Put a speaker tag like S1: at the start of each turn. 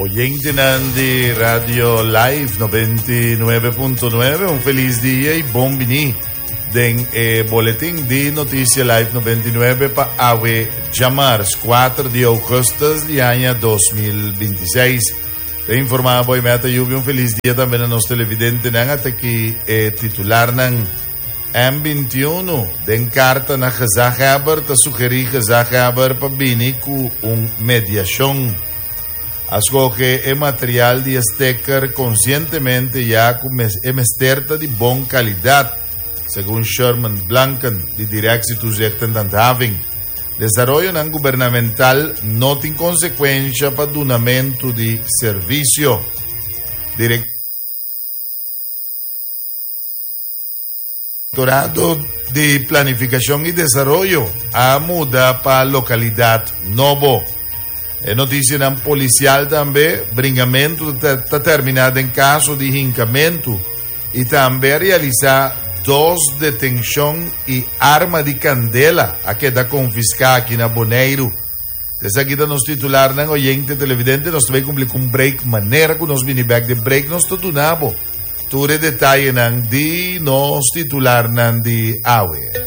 S1: Oyentenan di Radio Live 99.9, un feliz dia y bon bini den e boletin di Noticia Live 99 pa awe djamars 4 di augustus di aña 2026. Te informa boy meta yubi un feliz dia tambe na nos televidentenan ata ki e titularnan. M21 den karta na gezaghebber ta sugerí gezaghebber pa bini ku un mediashon. A skohe e material di e steker konsientemente ya ku e mester ta di bon kalidat, segun Sherman Blanken di Directie Toezicht en Handhaving. Desaroyonan gubernamental no tin konsekuensha pa dunamentu di servisio. Direktorado di Planifikashon i Desaroyo a muda pa lokalidat nobo. E notisianan polisial tambe, bringamentu ta terminá den kaso di hinkamentu i tambe a realisá dos detenshon i arma di kandela a keda konfiská aki na Boneiru. Esaki ta nos titularnan oyente televidente nos ta bai kumpli ku un break manera ku nos bini bek den break nos ta duna bo tur e detayenan di nos titularnan di awe.